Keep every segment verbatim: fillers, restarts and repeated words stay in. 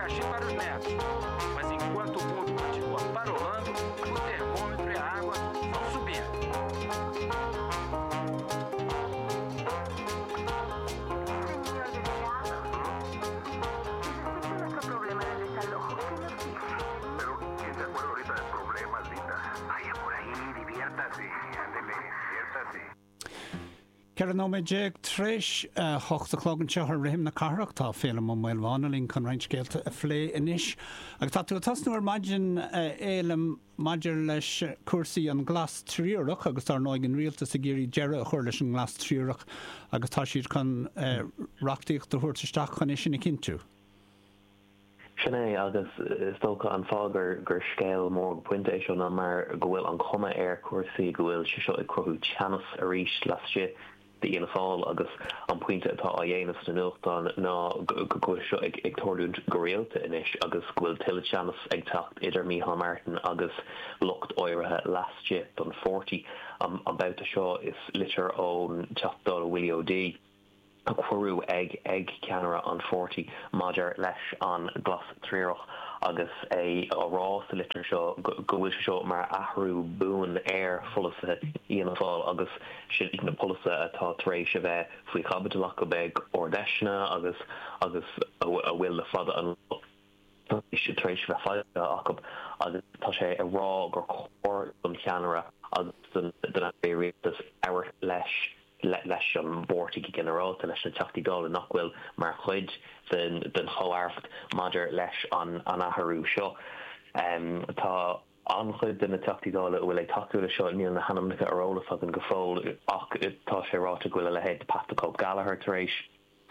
abacaxi para os netos. Mas enquanto o mundo continua parolando, o termômetro e a água vão subindo. Señor delegado, si sospecha nuestro problema de desalojo, ¿qué nos dice? Pero, ¿quién se acuerda ahorita de problemas, linda? Vaya por ahí, diviértase. Ándele, diviértase. Ceithre nóiméad déag tar éis a hocht a chlog anseo ar Rithim na Cathrach tá Féilim Ó Maolmhána linn chun roinnt scéalta a phlé anois. Agus tá tú ag tosnú ar maidin a Fhéilim maidir leis cúrsaí an Glas Triarach agus dar ndóigh an rialtas ag iarraidh deireadh a chur leis an nGlas Triarach agus tá siad chun reachtaíocht a thabhairt isteach chun é sin a chinntiú. Sin é agus is dócha an fáth gur gur scéal mór go pointe é seo ná mar go bhfuil an chuma ar chúrsaí go bhfuil sé seo ag cruthú teannas arís laistigh d'Fhianna Fáil agus an pointe atá á dhéanamh sna nuachtáin ná go bhfuil seo ag ag tarlúint go rialta anois agus go bhfuil tuilleadh teannas ag teacht idir Micheál Martin agus lucht áirithe laistigh den pháirtí. An babhta seo is litir ón Teachta Dála Willie O'Dea a cuireadh ag ag ceannaire an pháirtí maidir leis an Ghlas Triarach agus é á rá sa litir seo go bhfuil sé seo mar athrú buan ar pholasaithe Fhianna Fáil agus sin na polasaithe atá tar éis a bheith faoi chaibidil acu ag Ard-Fheiseanna agus agus a bhfuil le fada an lá tar éis tar éis a bheith foilsithe acu agus tá sé ag rá gur chóir don cheannaire agus don don Aire Rialtais labhairt leis leis an bpáirtí go ginearálta, leis na Teachtaí Dála nach bhfuil mar chuid den den chomh-aireacht maidir leis an an athrú seo. Tá an-chuid de na Teachtaí Dála a bhfuil ag tacú leis seo, níl na hainmneacha ar eolas againn go fóill ach tá sé ráite go bhfuil a leithéid de Pat the Cope Gallagher tar éis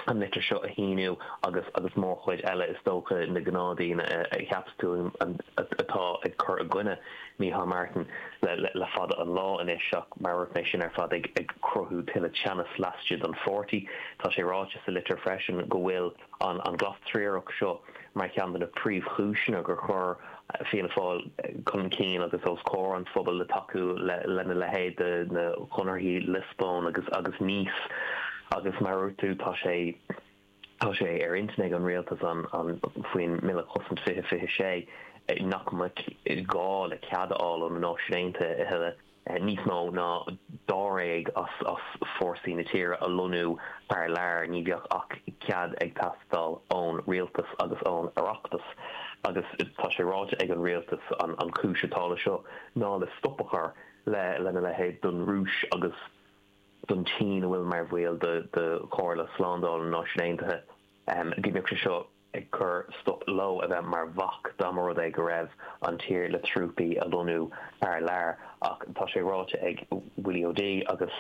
an litir seo a shíniú agus agus mórchuid eile is dócha na gnáthdaoine a cheapas tú atá ag cur i gcoinne Micheál Martin le fada an lá anois ach mar a dúirt mé sin ar fad ag ag cruthú tuilleadh teannas laistigh den pháirtí. Tá sé ráite sa litir freisin go bhfuil an an Glas Triarach seo mar cheann de na príomhchúiseanna gur chuir Fianna Fáil chun cinn agus os comhair an phobail le tacú lena leithéid de na Conarthaí Liospóin agus agus Nice agus mar a dúirt tú tá sé tá sé ar intinn ag an rialtas an an faoin mBille Cosaint fiche fiche sé nach mbeadh gá le cead a fháil ó na Náisiúin Aontaithe a thuilleadh níos mó ná dáréag as as fórsaí na tíre a lonnú thar lear, ní bheadh ach cead ag teastáil ón rialtas agus ón Oireachtas. Agus tá sé ráite ag an rialtas an an chúis atá le seo ná le stop a chur le lena leithéid don Rúis agus don tSín a bhfuil mar bhaill de de Chomhairle Slándála na Náisiún Aontaithe. Go mbeadh sé seo ag cur stop leo a bheith mar bhac dá mba rud é go raibh an tír le trúpaí a lonnú thar lear ach tá sé ráite ag Willie O'Dea agus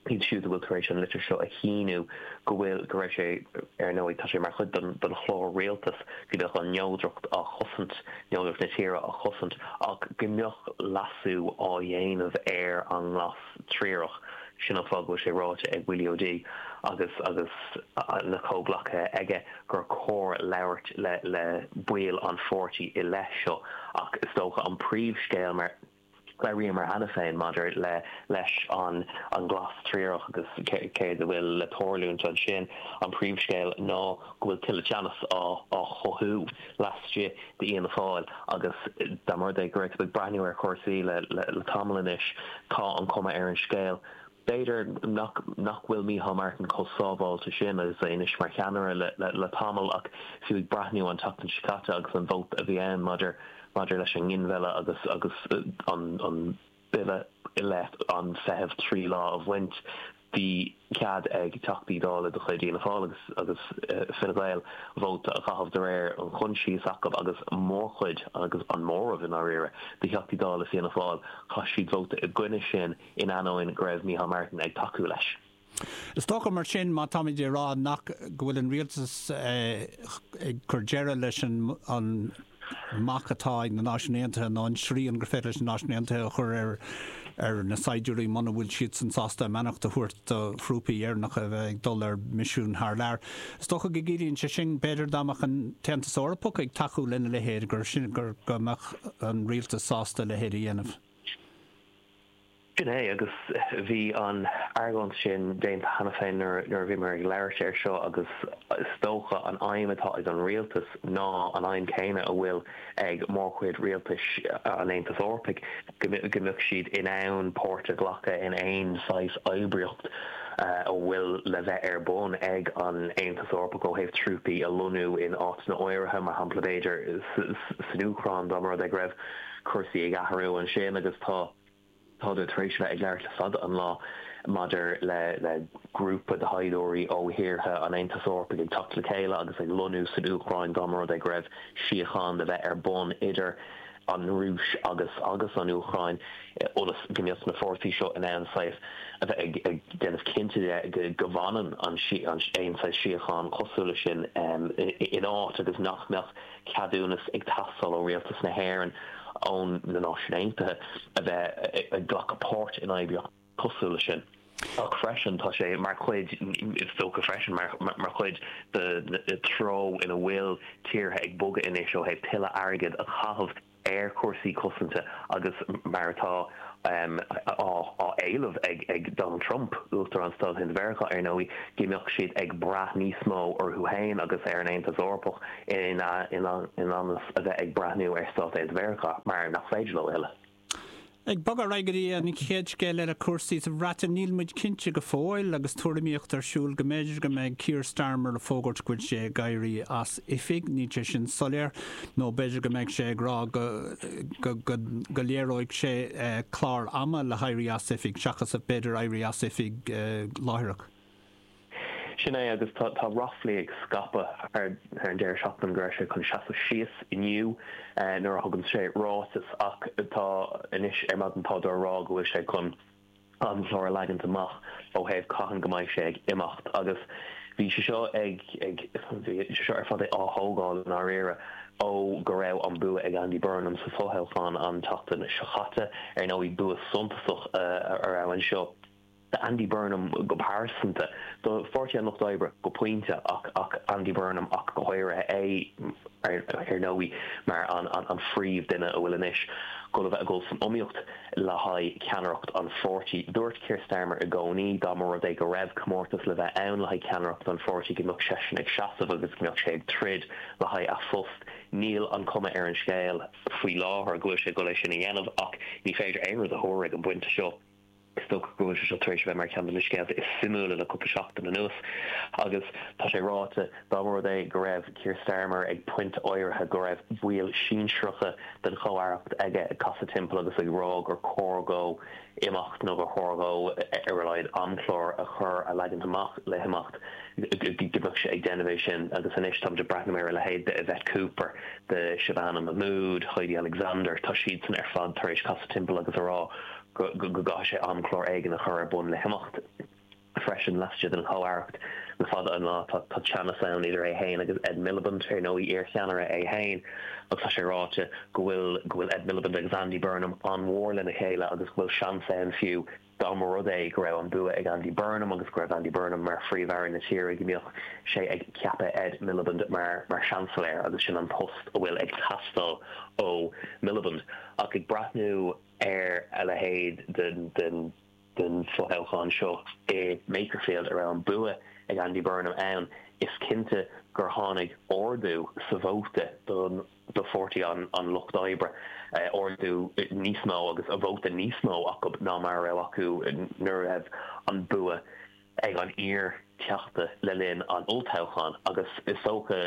iad siúd a bhfuil tar éis an litir seo a shíniú go bhfuil go raibh sé ar ndóigh tá sé mar chuid den den chlár rialtais go mbeadh an neodracht á chosaint neodracht na tíre á chosaint ach go mbeadh leasú á dhéanamh ar an nGlas Triarach. Sin an fáth go bhfuil sé ráite ag Willie O'Dea agus agus na comhghleacaithe aige gur chóir labhairt le le baill an pháirtí i leith seo ach is dócha an príomhscéal mar labhraíomar cheana féin maidir le leis an an Ghlas Triarach agus céard a bhfuil le tarlúint ansin, an príomhscéal ná go bhfuil tuilleadh teannas á á chothú laistigh d'Fhianna Fáil agus dá mba rud é go raibh tú ag breathnú ar chúrsaí le le tamall anois tá an chuma ar an scéal b'fhéidir nach nach bhfuil Micheál Martin chomh sábháilte sin agus é anois mar cheannaire le le le tamall ach fiú ag breathnú an tseachtain seo caite agus an vóta a bhí ann maidir maidir leis an nginmhilleadh agus agus an an bille i leith an feitheamh trí lá a bhaint bhí cead ag Teachtaí Dála de chuid Fhianna Fáil agus agus Fine Gael vóta a chaitheamh de réir an choinsias acu agus mórchuid agus an móramh i ndáiríre de Theachtaí Dála Fianna Fáil chaith siad vóta i gcoinne sin in ainneoin go raibh Micheál Martin ag tacú leis. Is dócha mar sin, má táimid ag rá nach go bhfuil an rialtas ag cur deireadh leis an an mbac atá ag na Náisiúin Aontaithe nó an srian gur féidir leis na Náisiúin Aontaithe a chur ar ar na saighdiúirí muna bhfuil siadsan sásta a mbeannacht a thabhairt do thrúpaí Éireannacha a bheith ag dul ar misiún thar lear. Is dócha go gciallaíonn sé sin, b'fhéidir, dá mbeadh an tAontas Eorpach ag tacú lena leithéid, gur sin gur go mbeadh an rialtas sásta a leithéid a dhéanamh. Sin é agus bhí an argóint sin déanta cheana féin nuair a bhíomar ag labhairt air seo agus is dócha an aidhm atá ag an rialtas ná an aidhm céanna a bhfuil ag mórchuid rialtais an Aontais Eorpaigh go mbeadh siad in ann páirt a ghlacadh in aon saghas oibríocht a bhfuil le bheith ar bun ag an Aontas Eorpach ó thaobh trúpaí a lonnú in áiteanna áirithe, mar shampla b'fhéidir san Úcráin dá mba rud é go raibh cúrsaí ag athrú ansin agus tá Táthar tar éis a bheith ag labhairt le fada an lá maidir le le grúpa de shaighdiúirí ó thíortha an Aontais Eorpaigh ag teacht le chéile agus ag lonnú san Úcráin dá mba rud é go raibh síocháin le bheith ar bun idir an Rúis agus agus an Úcráin ionas go mbeadh na fórsaí seo in ann saghas a bheith ag ag déanamh cinnte de go bhfanann an aon saghas síocháin cosúil leis sin in áit agus nach mbeadh ceadúnas ag teastáil ó Rialtas na hÉireann ó na Náisiúin Aontaithe a bheith ag glacadh páirt in oibríocht cosúil leis sin. Ach freisin tá sé mar chuid, is dócha freisin, mar chuid den treo ina bhfuil tíortha ag bogadh anois ó thaobh tuilleadh airgid a chaitheamh ar chúrsaí cosanta agus mar atá á éileamh ag Donald Trump, Uachtarán Stáit Aontaithe Mheiriceá, ar ndóigh, go mbeadh siad ag brath níos mó orthu féin agus ar an Aontas Eorpach in ionad a bheith ag breathnú ar Stáit Aontaithe Mheiriceá, mar nach féidir leo a thuilleadh. Ag bogadh ar aghaidh go dtí an chéad scéal eile, cúrsaí sa Bhreatain, níl muid cinnte go fóill agus tuairimíocht ar siúl go mb'fhéidir go mbeidh Keir Starmer ag fógairt go bhfuil sé ag éirí as oifig, níl sé sin soiléir, nó b'fhéidir go mbeidh sé ag rá go go léireoidh sé clár ama le héirí as oifig seachas b'fhéidir éirí as oifig láithreach. Sin é agus tá ráflaí ag scaipeadh thar an deireadh seachtaine go raibh sé chun seasamh síos inniu nuair a thugann sé ráiteas ach tá anois ar maidin táthar ag rá go bhfuil sé chun amchlár a leagant amach ó thaobh cathain go mbeidh sé ag imeacht agus bhí sé seo ag ag bhí sé seo ar fad á thógáil i ndáiríre ó go raibh an bua ag Andy Burnham sa fhothoghchán an tseachtain seo chaite. Ar ndóigh bua suntasach a raibh anseo. d'Andy Burnham go pearsanta, do Pháirtí an Lucht Oibre go pointe ach ach Andy Burnham ach go háirithe, é ar ndóigh mar an an phríomhdhuine a bhfuil anois dul a bheith ag dul san iomaíocht le haghaidh ceannaireacht an pháirtí. Dúirt Keir Starmer i gcónaí dá mba rud é go raibh comórtas le bheith ann le haghaidh ceannaireacht an pháirtí go mbeadh seisean ag seasamh agus go mbeadh sé ag troid le haghaidh a phost. Níl an chuma ar an scéal faoi láthair go bhfuil sé ag dul é sin a dhéanamh ach ní féidir aon rud a thuar ag an bpointe seo. Is dócha go bhfuil sé seo tar éis a bheith mar cheann de na scéalta is suimiúla le cúpla seachtain anuas agus tá sé ráite dá mba rud é go raibh Keir Starmer ag pointe áirithe go raibh baill sinsearacha den chomh-aireacht aige ag casadh timpeall agus ag rá gur chóir dhó imeacht nó gur chóir dhó ar a laghad amchlár a chur a leagant amach le himeacht go mbeadh sé ag déanamh é sin agus anois táimid ag breathnú ar a leithéid de Yvette Cooper, de Shabana Mahmood, Heidi Alexander, tá siadsan ar fad tar éis casadh timpeall agus a rá go gcaithfidh sé amchlár éigin a chur ar bun le himeacht freisin laistigh den chomh-aireacht. Le fada an lá tá teannas ann idir é féin agus Ed Miliband, ar ndóigh, iarcheannaire é féin, agus tá sé ráite go bhfuil go bhfuil Ed Miliband agus Andy Burnham an-mhór lena chéile agus go bhfuil seans ann fiú dá mba rud é go raibh an bua ag Andy Burnham agus go raibh Andy Burnham mar Phríomh-Aire na tíre go mbeadh sé ag ceapadh Ed Miliband mar mar Seansailéir agus sin an post a bhfuil ag teastáil ó Miliband. Ach ag breathnú ar a leithéid den den fothoghchán seo i Makerfield a raibh an bua ag Andy Burnham ann, is cinnte gur tháinig ardú sa vóta don do Pháirtí an an Lucht Oibre, ardú níos mó agus vóta níos mó acu ná mar a raibh acu nuair a raibh an bua ag an iar-Teachta le linn an olltoghcháin agus is dócha,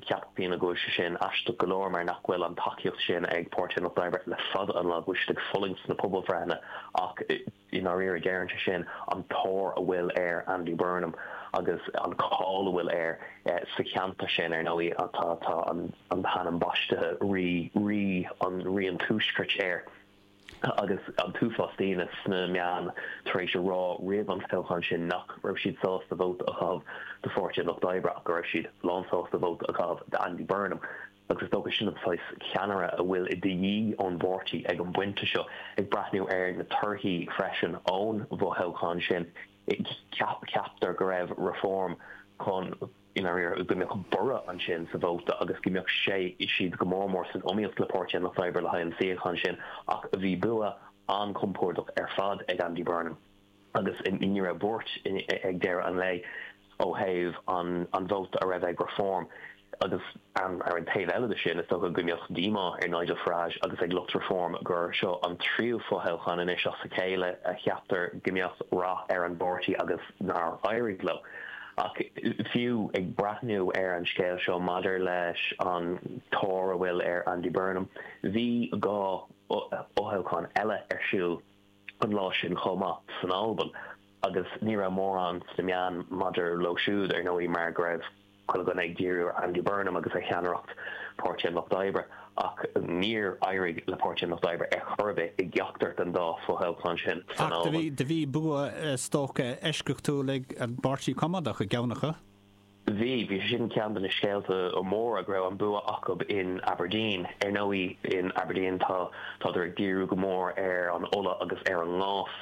ceapfaidh daoine go bhfuil sé sin aisteach go leor mar nach bhfuil an tacaíocht sin ag Páirtí an Lucht Oibre le fada an lá, go bhfuil siad ag fulaingt sna pobalbhreitheanna ach i ndáiríre deireann sé sin an tóir a bhfuil ar Andy Burnham agus an cáil a bhfuil air sa cheantar sin. Ar ndóigh tá tá an t-ainm baistithe Rí Rí an Rí an Tuaiscirt air. agus an t-uafás daoine sna meáin tar éis a rá roimh an toghchán sin nach raibh siad sásta vóta a chaitheamh do Pháirtí an Lucht Oibre ach go raibh siad lánsásta vóta a chaitheamh d'Andy Burnham agus is dócha sin an saghas ceannaire a bhfuil de dhíth ón bpáirtí ag an bpointe seo. Ag breathnú ar na torthaí freisin ón bhfothoghchán sin, ceaptar go raibh Reform chun, i ndáiríre, go mbeadh borradh ansin sa vóta agus go mbeadh sé, siad go mór mór san iomaíocht le Páirtí an Lucht Oibre le haghaidh an suíocháin sin ach bhí bua an-chompordach ar fad ag Andy Burnham agus ní raibh buairt ag deireadh an lae ó thaobh an an vóta a raibh ag Reform agus an ar an taobh eile de sin is dócha go mbeadh díomá ar Nigel Farage agus ag lucht Reform gur seo an tríú fothoghchán anois as a chéile a cheaptar go mbeadh rath ar an bpáirtí agus nár éirigh leo. Ach fiú ag breathnú ar an scéal seo maidir leis an tóir a bhfuil ar Andy Burnham, bhí dhá fhothoghchán eile ar siúl an lá sin chomh maith san Albain agus ní raibh mórán sna meáin maidir leo siúd ar ndóigh mar go raibh chuile dhuine ag díriú ar Andy Burnham agus ar cheannaireacht Páirtí an Lucht Oibre ach níor éirigh le Páirtí an Lucht Oibre ar chor ar bith i gceachtar den dá fothoghchán sin san Ach do bhí Albain. do bhí bua is dócha eisceachtúil ag an bPáirtí Coimeádach i gceann acu. Bhí bhí sin ceann de na scéalta móra go raibh an bua acu in Aberdeen. Ar ndóigh in Aberdeen tá tádar ag díriú go mór ar an ola agus ar an ngás.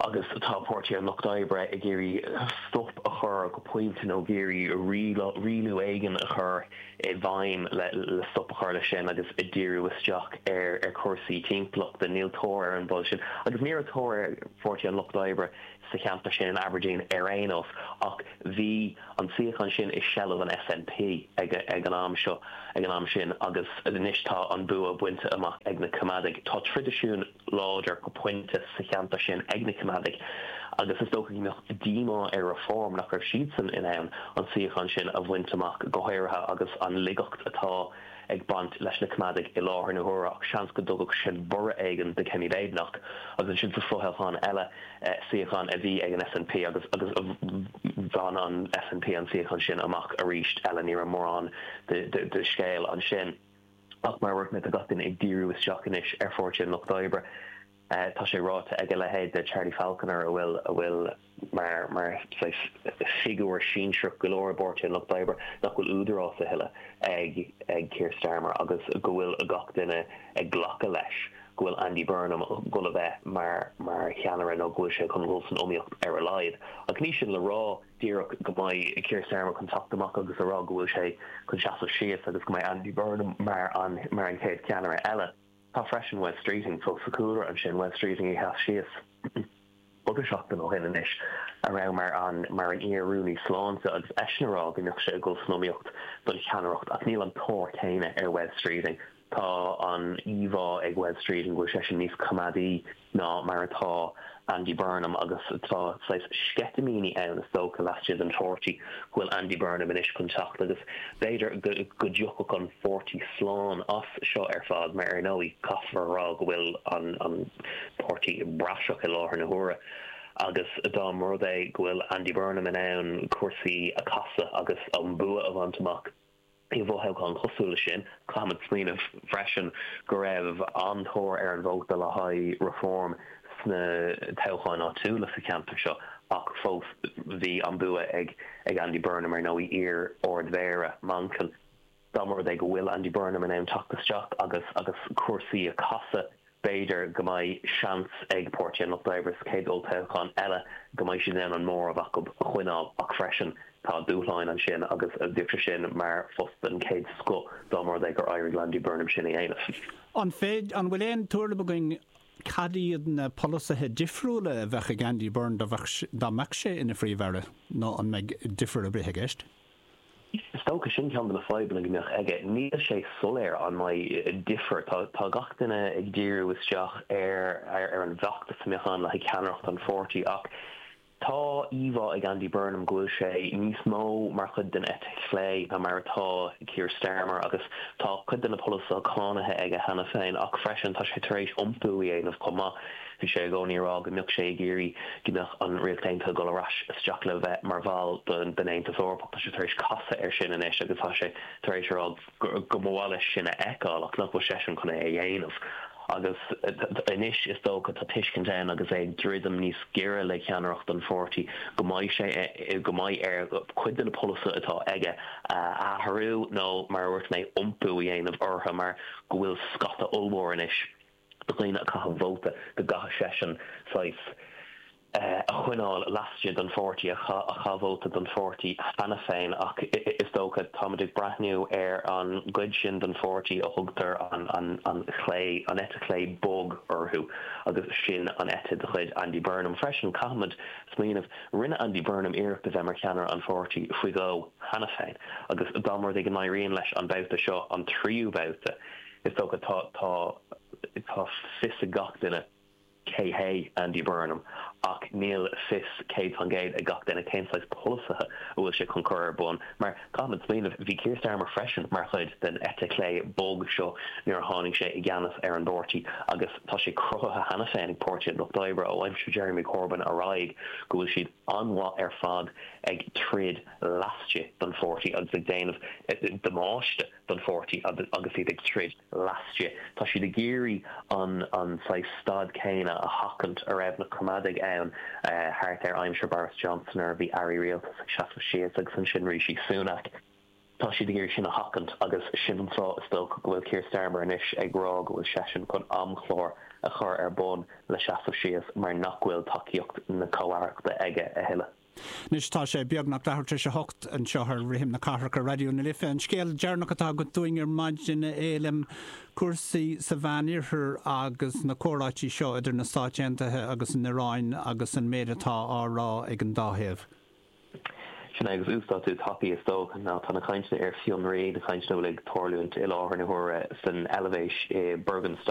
agus tá Páirtí an Lucht Oibre ag iarraidh stop a chur go pointe nó ag iarraidh rialú éigin a chur i bhfeidhm le, le stop a chur leis sin agus ag díriú isteach ar ar chúrsaí timpeallachta níl tóir ar an bpolasaí sin agus ní raibh tóir ar Pháirtí an Lucht Oibre sa cheantar sin in Aberdeen ar aon nós ach bhí an suíochán sin i seilbh an SNP ag, ag an am seo ag an am sin agus anois tá an bua bainte amach ag na Coimeádaigh. Tá traidisiún láidir go pointe sa cheantar sin ag na Coimeádaigh agus is dócha go mbeadh díomá ar Reform nach raibh siadsan in ann an suíochán sin a bhaint amach go háirithe agus an laigeacht atá ag baint leis na Coimeádaigh i láthair na huaire ach seans go dtugadh sin borradh éigin do Kemi Badenoch agus ansin sa fothoghchán eile eh, suíochán a bhí ag an SNP agus agus bhain an SNP an suíochán sin amach arís eile ní raibh mórán de, de, de scéal ansin. Ach mar a dúirt mé tá gach duine ag díriú isteach anois ar Pháirtí an Lucht Oibre. Uh, tá sé ráite ag a leithéid de Charlie Falconer a bhfuil a bhfuil mar mar figiúr sinsearach go leor i bPáirtí an Lucht Oibre nach bhfuil údarás a thuilleadh ag ag Keir Starmer agus go bhfuil gach duine ag glacadh leis go bhfuil Andy Burnham go a bheith mar mar cheannaire nó go bhfuil sé chun dul san iomaíocht ar a laghad. Ach ní sin le rá díreach go mbeidh Keir Starmer chun teacht amach agus a rá go bhfuil sé chun seasamh síos agus go mbeidh Andy Burnham mar an mar an chéad cheannaire eile. Tá freisin Wes Streeting fós sa chúlra ansin Wes Streeting a sheas síos. Cúpla seachtain ó shin anois a raibh mar an mar an iar-rúnaí sláinte agus eisean ag rá go mbeadh sé ag dul san iomaíocht don cheannaireacht ach níl an tóir céanna ar Wes Streeting. Tá an íomhá ag Wes Streeting go bhfuil sé sin níos coimeádaí ná mar atá Andy Burnham agus tá saghas sceitimíní ann is dócha laistigh den pháirtí go bhfuil Andy Burnham anois chun teacht agus b'fhéidir go go dtiocfadh an pháirtí slán as seo ar fad mar ar ndóigh caithfear a rá go bhfuil an an páirtí praiseach i láthair na huaire. agus dá mba rud é go bhfuil Andy Burnham in ann cúrsaí a chasadh agus an bua a bhaint amach i bhfothoghchán cosúil leis sin caithfimid smaoineamh freisin go raibh an-tóir ar an vóta le haghaidh Reform sna toghcháin áitiúla sa cheantar seo ach fós bhí an bua ag ag Andy Burnham ar ndóigh iar-ardmhéara Manchain. Dá mba rud é go bhfuil Andy Burnham in ann teacht isteach agus agus cúrsaí a chasadh b'fhéidir go mbeidh seans ag Páirtí an Lucht Oibre sa chéad olltoghchán eile go mbeidh siad in ann an móramh acu a choinneáil ach freisin tá dúshláin ansin agus bheadh sé sin mar phost den chéad scoth dá mba rud é gur éirigh le Andy Burnham sin a dhéanamh. An féid an bhfuil aon tuairim againn cad iad na polasaithe difriúla a bheadh ag Andy Burnham dá dá mbeadh sé ina phríomh-aire nó an mbeidh difear ar bith i gceist? Is dócha sin ceann de na fadhbanna go mbeadh aige níl sé soiléir an mbeidh difear tá tá gach duine ag díriú isteach ar ar, ar an bhfeachtas a mbeadh ann le ceannaireacht an pháirtí ach tá íomhá ag Andy Burnham go bhfuil sé níos mó mar chuid den eite chlé ná mar atá Keir Starmer agus tá cuid de na polasaithe cáinte aige cheana féin ach freisin tá sé tar éis iompú a dhéanamh chomh maith. Bhí sé i gcónaí ag rá go mbeadh sé ag iarraidh go mbeadh an Ríocht Aontaithe dul ar ais isteach le bheith mar bhall den den Aontas Eorpach tá sé tar éis casadh air sin anois agus tá sé tar éis rá go mba mhaith leis sin a fheiceáil ach nach bhfuil seisean chun é a dhéanamh. agus anois is dócha tá tuiscint ann agus é ag druidim níos giorra le ceannaireacht an pháirtí go mbeidh sé go mbeidh air cuid de na polasaithe atá aige a athrú nó mar a dúirt mé iompú a dhéanamh orthu mar go bhfuil scata ollmhór anois de dhaoine a chaitheann vóta go gcaithfidh seisean saghas a choinneáil laistigh den pháirtí a chaith vóta don pháirtí cheana féin ach is dócha táimid ag breathnú ar an gcuid sin den pháirtí a thugtar an an an chlé an eite chlé bog orthu agus sin an eite de chuid Andy Burnham freisin caithfimid smaoineamh rinne Andy Burnham iarracht a bheith mar cheannaire an pháirtí faoi dhó cheana féin agus dá mba rud é go n-éiríonn leis an babhta seo an tríú babhta is dócha tá tá tá fios ag gach duine cé hé Andy Burnham ach níl fios céad faoin gcéad ag gach duine cén saghas polasaithe a bhfuil sé chun cur ar bun mar caithfimid smaoineamh bhí Keir Starmer freisin mar chuid den eite chlé bog seo nuair a tháinig sé i gceannas ar an bpáirtí agus tá sé cruthaithe cheana féin ag Páirtí an Lucht Oibre ó aimsir Jeremy Corbyn ar aghaidh go bhfuil siad an-mhaith ar fad ag troid laistigh den pháirtí agus ag déanamh damáiste don pháirtí agus iad ag troid laistigh. Tá siad ag iarraidh an an saghas staid céanna a sheachaint a raibh na Coimeádaigh ann thart ar aimsir Boris Johnson nuair a bhí airí rialtais ag seasamh síos agus ansin Rishi Sunak. Tá siad ag iarraidh sin a sheachaint agus sin an fáth is dócha go bhfuil Keir Starmer anois ag rá go bhfuil seisean chun amchlár a chur ar bun le seasamh síos mar nach bhfuil tacaíocht na comh-aireachta aige a thuilleadh. Anois tá sé beagnach leathuair tar éis a hocht anseo ar Rithim na Cathrach ar Raidió na Life. An scéal deireanach atá agat dúinn ar maidin a Fhéilim, cúrsaí sa Mheánoirthear agus na comhráití seo idir na Stáit Aontaithe agus an Iaráin agus an méid atá á rá ag an dá thaobh. Sin é agus uasdátú tapaidh is dócha ná tá na cainteanna ar fionraí, na cainteanna a bhfuil ag tarlúint i láthair na huaire san Eilvéis i Bürgenstock.